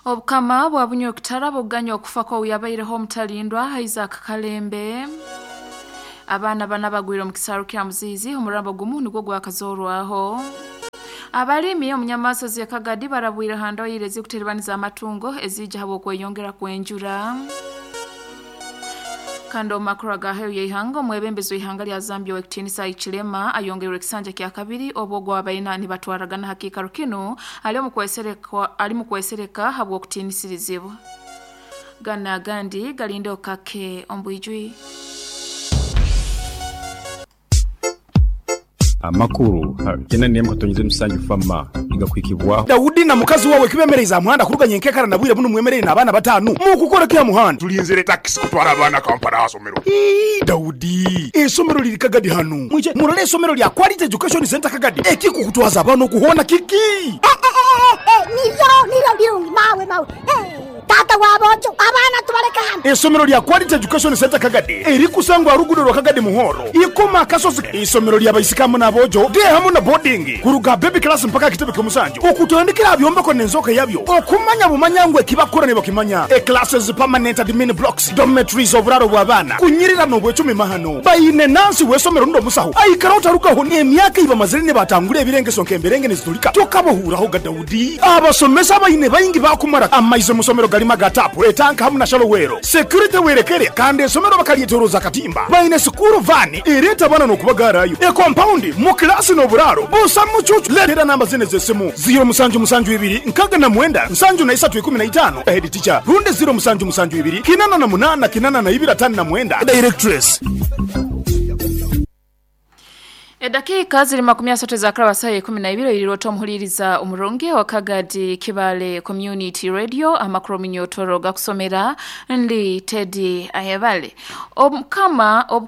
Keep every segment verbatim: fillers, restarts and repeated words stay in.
Obukama bwa Bunyoro Kitara buganya okufa kwa uyabaireho omutalindwa Isaac Kalembe. Abaana bana bagwire omu kisaaru kya Muziizi, omurambo gumu nigwo gwakazorwaho. Abalimi omunyamaso z'e Kagadi barabwire ha ndoyire ezikuteribaniza amatungo ezija habw'okweyongera kw'enjura. Kandi omu makuru agaheru y'ihanga, omwebembezi w'ihanga lya Zambia ow'ekitiinisa Hichilema ayongerwe ekisanja kya kabiri obwo gwabaina nibatwaragana ha kiikaro kinu ali omu kwesereka ali mu kwesereka habw'okutiinisirizibwa. Gana agandi galinde okake ombwijwi. Amakuru kena nemu katonyeze musanju fama igakwikibwaho. Daudi na mukazi wawe kibemereza muhanda kuruganya enkekara na bwire buno mwemerere n'abaana batanu mukukora kya muhanda. Tulinzire taxi kutwara abaana Kampala asomero. Ii, Daudi, esomero liri Kagadi hano mwije murole esomero lya Quality Education Center Kagadi ekikukutwaza abaana okuhona kiki. Eh, eh, eh, niryo niryo birungi mawe mawe. Eh, tata wabojo abaana tubaleka hano. Esomero lya Quality Education Center Kagadi erikusangwa rugudo rwa Kagadi Muhoro ikoma kasozi. Isomero lya baisikamu n'abojo de hamu na boarding kuruga baby class mpaka kitebe kyomusanju okutandikira byombeko n'enzoka yabyo okumanya bumanya ngwe kibakora ne bakimanya. E classes, permanent admin blocks, dormitories, oburaro bw'abaana kunyirira n'obwecumi mahano bayine nansi w'esomero ndo musaho aikara utarukaho emyaka ibamazire ne batangura ebirengeso nk'emberenge nezitulika tokabohuraho ga Daudi. Abasomesa bayine bayingi bakumara amaize musomero galima gatapu etanka hamu na shalowero security werekere kandi esomero bakalyetoroza katimba bayine sukuru vani ereta bana n'okubagarayo e compound mu klasi n'oburaro busa mucucu. Letera namba zine z'esimu ziro musanju musanju ibiri nkaga na mwenda nsanju na isatu ikumi na itano head teacher runde ziro musanju musanju ibiri kinana na munana kinana na ibiri atano na mwenda directress. Edakika ziri makumi asatu za krawa saa ikumi na ibiri iliroto muhuliriza umurungi wa Kagadi Kibale Community Radio amakuru minyotoro gakusomera ndi Teddy Ayebale. Omukama ob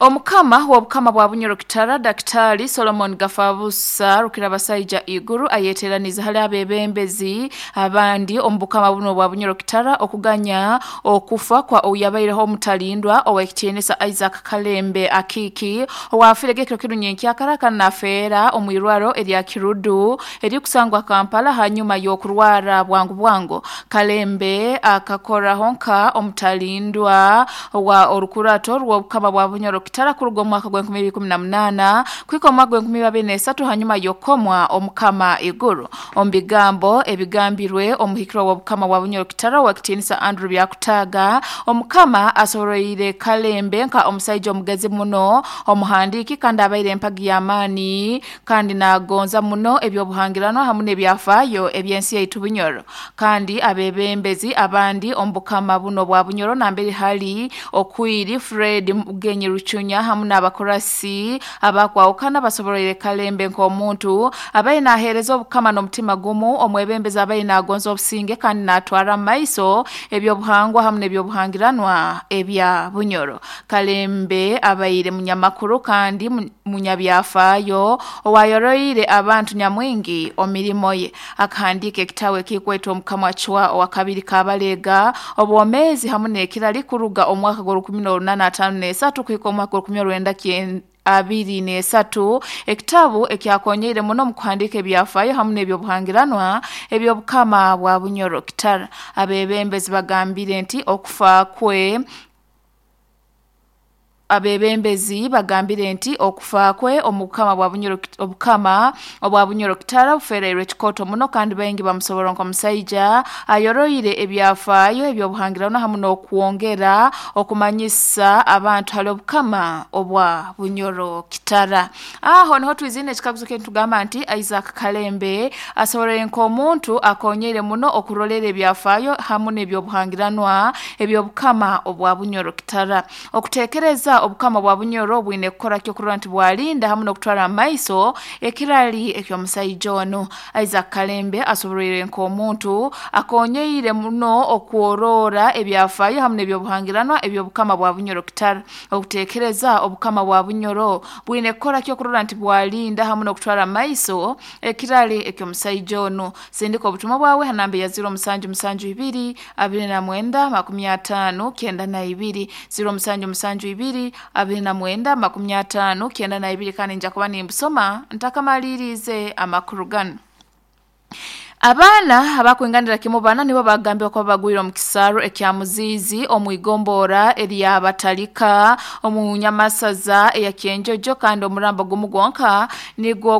Omukama wa Bukama bwa Bunyoro Kitara Daktari Solomon Gafabusa Rukirabasaija Iguru ayeteraniza hali abebembezi abandi omubukama buno bwa Bunyoro Kitara okuganya okufa kwa oyabaireho omutalindwa owekitiinisa Isaac Kalembe Akiki owafire gekiro kirunye akaraka nafeera omwirwaro erya Kirudu erikusangwa Kampala hanyuma y'okurwara bwangu bwangu. Kalembe akakora honka omutalindwa wa orukurato rw'Obukama bwa Bunyoro Kitara kuruga omwaka gwa enkumi ibiri ikumi na munana kwika omwaka gwa enkumi ibiri n'esatu hanyuma yokomwa omukama Iguru. Omubigambo ebigambirwe omuhikirwa wa Bukama bwa Bunyoro Kitara owekitiinisa Andrew Byakutaga, omukama asoroire Kalembe nka omusaija omugezi muno omuhandiki kandi abaire empagi y'amaani kandi nagonza muno ebyobuhangirano hamu n'ebyafaayo ebyensi yaitu Bunyoro. Kandi abebembezi abandi omubukama buno bwa Bunyoro nambere hali Okwiri Fred Mugenyi Ruchunya hamu n'abakorasi abakwawukana basoboroire Kalembe nk'omuntu abaye nahereza obukama n'omutima gumu omwebembezi abaye nagonza obusinge kandi natwara maiso ebyobuhangwa hamu n'ebyobuhangiranwa ebya Bunyoro. Kalembe abaire munyamakuru kandi munyabyafaayo owayoroire abantu nyamwingi omirimo ye. Akahandika ekitabu ekikwetwa Omukama Chwa owakabiri Kabalega obwomezi hamu n'ekirali kuruga omwaka gwa rukumi n'orunana atano n'esatu kuhika omwaka rukumi orwenda abiri n'esatu, ekitabu ekyakonyeire muno mu kuhandika ebyafaayo hamu n'ebyobuhangiranwa eby'Obukama bwa Bunyoro Kitara. Abebembezi bagambire nti okufa kwe Abebembezi bagambire nti okufa kwe omukama bwa Bunyoro obukama obwa Bunyoro Kitara bufereirwe kikoto muno kandi baingi bamusobora nk'omusaija ayoroire ebyafaayo ebyobuhangirano hamu n'okwongera okumanyisa abantu hali obukama obwa Bunyoro Kitara. Aho niho twizine ekikaguzo kye tugamba nti Isaac Kalembe asoborere nk'omuntu akonyeire muno okurolera ebyafaayo hamu n'ebyobuhangiranwa eby'obukama obwa Bunyoro Kitara. Okutekereza obukama bwa Bunyoro bwine kukora kyo kurora nti bwalinda hamu n'okutwara amaiso ekirali ekyomusaija ono. Isaac Kalembe asoborere nk'omuntu akonyeire muno okworora ebyafaayo hamu n'ebyobuhangiranwa eby'obukama bwa Bunyoro Kitara. Okutekereza obukama bwa Bunyoro bwine kukora kyo kurora nti bwalinda hamu n'okutwara amaiso ekirali ekyomusaija ono. Sindika obutumwa bwawe hanambe ya ziro musanju musanju ibiri abiri na mwenda makumi atano kenda na ibiri ziro musanju musanju ibiri abiri na mwenda makumi atano kenda na ibiri kandi nja kuba nimbusoma ntakamalirize amakuru gano. Abaana abakwinganira kimu bana nibo bagambye ko bagwira omu kisaro ekya Muzizi omu igombora eryabatalika omu nyamasaza eya Kyenjojo, kandi omurambo gumu gwonka nigwo.